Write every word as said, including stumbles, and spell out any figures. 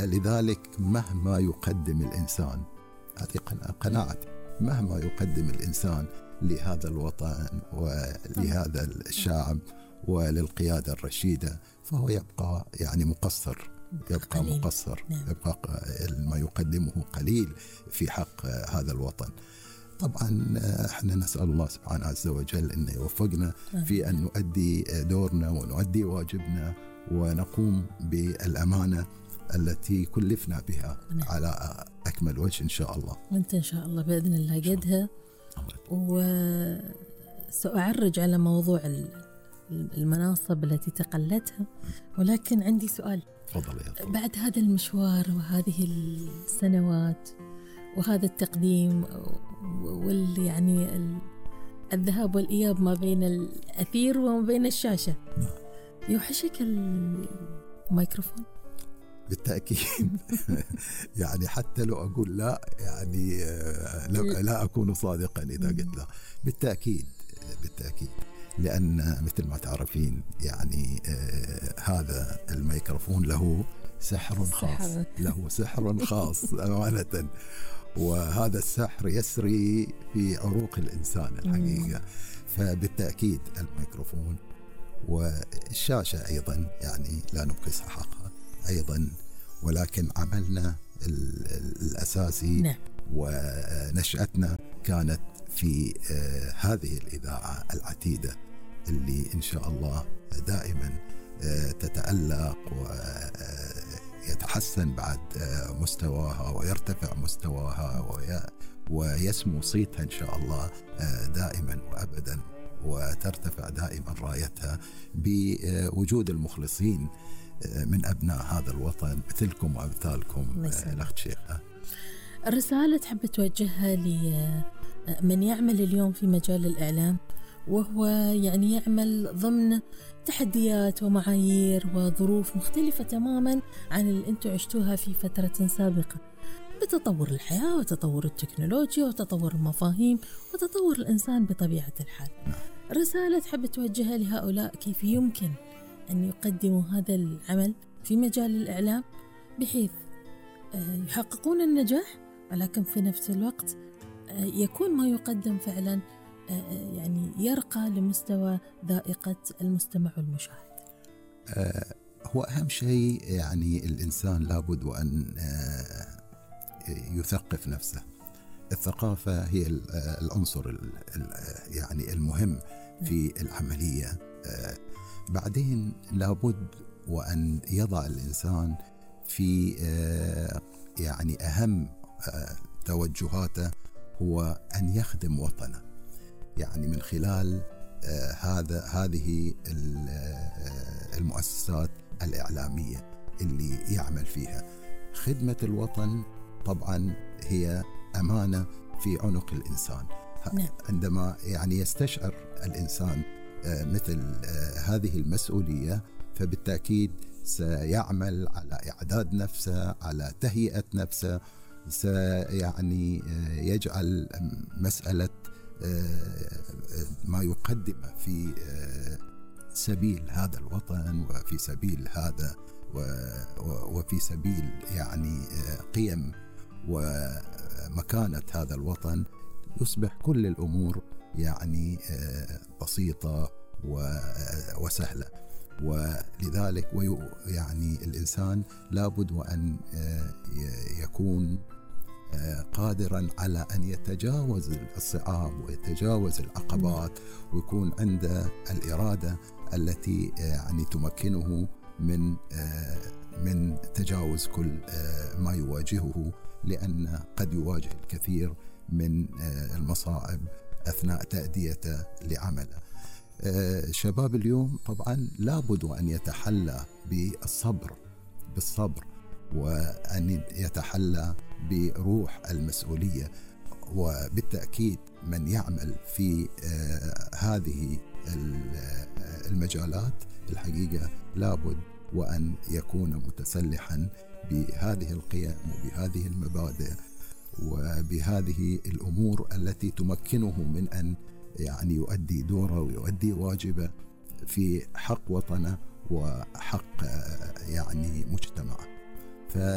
ولذلك مهما يقدم الإنسان، هذه قناعتي، مهما يقدم الإنسان لهذا الوطن ولهذا الشعب وللقيادة الرشيدة فهو يبقى يعني مقصر، يبقى قليل. مقصر نعم. يبقى ما يقدمه قليل في حق هذا الوطن. طبعا احنا نسأل الله سبحانه عز وجل أن يوفقنا في أن نؤدي دورنا ونؤدي واجبنا ونقوم بالأمانة التي كلفنا بها نعم. على أكمل وجه إن شاء الله. وأنت إن شاء الله بإذن الله قدها. وسأعرج على موضوع المناصب التي تقلتها، ولكن عندي سؤال. فضل يا فضل. بعد هذا المشوار وهذه السنوات وهذا التقديم واللي يعني الذهاب والإياب ما بين الأثير وما بين الشاشة، يوحشك الميكروفون؟ بالتأكيد. يعني حتى لو أقول لا يعني لا أكون صادقا إذا قلت لا. بالتأكيد بالتأكيد، لأن مثل ما تعرفين يعني آه هذا الميكروفون له سحر خاص، له سحر خاص أمانة، وهذا السحر يسري في عروق الإنسان الحقيقة. فبالتأكيد الميكروفون والشاشة أيضا يعني لا نبخس حقها أيضا، ولكن عملنا الأساسي نعم. ونشأتنا كانت في آه هذه الإذاعة العتيدة اللي إن شاء الله دائما آه تتألق ويتحسن بعد آه مستواها ويرتفع مستواها ويسمو صيتها إن شاء الله آه دائما وأبدا، وترتفع دائما رايتها بوجود المخلصين من أبناء هذا الوطن مثلكم وأمثالكم. الأخت شيخة، الرسالة تحب توجهها لمن يعمل اليوم في مجال الإعلام وهو يعني يعمل ضمن تحديات ومعايير وظروف مختلفة تماما عن اللي أنتم عشتوها في فترة سابقة، بتطور الحياة وتطور التكنولوجيا وتطور المفاهيم وتطور الإنسان بطبيعة الحال. رسالة تحب توجهها لهؤلاء كيف يمكن أن يقدموا هذا العمل في مجال الإعلام بحيث يحققون النجاح، ولكن في نفس الوقت يكون ما يقدم فعلا يعني يرقى لمستوى ذائقة المستمع والمشاهد. هو أهم شيء يعني الإنسان لابد وأن يثقف نفسه. الثقافة هي العنصر يعني المهم في العملية. بعدين لابد وأن يضع الإنسان في يعني أهم توجهاته هو أن يخدم وطنه، يعني من خلال هذا هذه المؤسسات الإعلامية اللي يعمل فيها. خدمة الوطن طبعا هي أمانة في عنق الإنسان. نعم. عندما يعني يستشعر الإنسان مثل هذه المسؤولية فبالتأكيد سيعمل على إعداد نفسه، على تهيئة نفسه، سيعني يجعل مسألة ما يقدمه في سبيل هذا الوطن وفي سبيل هذا وفي سبيل يعني قيم ومكانة هذا الوطن، يصبح كل الأمور يعني بسيطة وسهلة. ولذلك يعني الإنسان لابد وأن يكون قادرا على أن يتجاوز الصعاب ويتجاوز العقبات، ويكون عنده الإرادة التي يعني تمكنه من من تجاوز كل ما يواجهه، لأن قد يواجه الكثير من المصاعب أثناء تأديته لعمله. شباب اليوم طبعا لابد أن يتحلى بالصبر بالصبر وأن يتحلى بروح المسؤولية، وبالتأكيد من يعمل في هذه المجالات الحقيقة لابد وأن يكون متسلحا بهذه القيم وبهذه المبادئ وبهذه الأمور التي تمكنه من أن يعني يؤدي دوره ويؤدي واجبه في حق وطنه وحق يعني مجتمعه.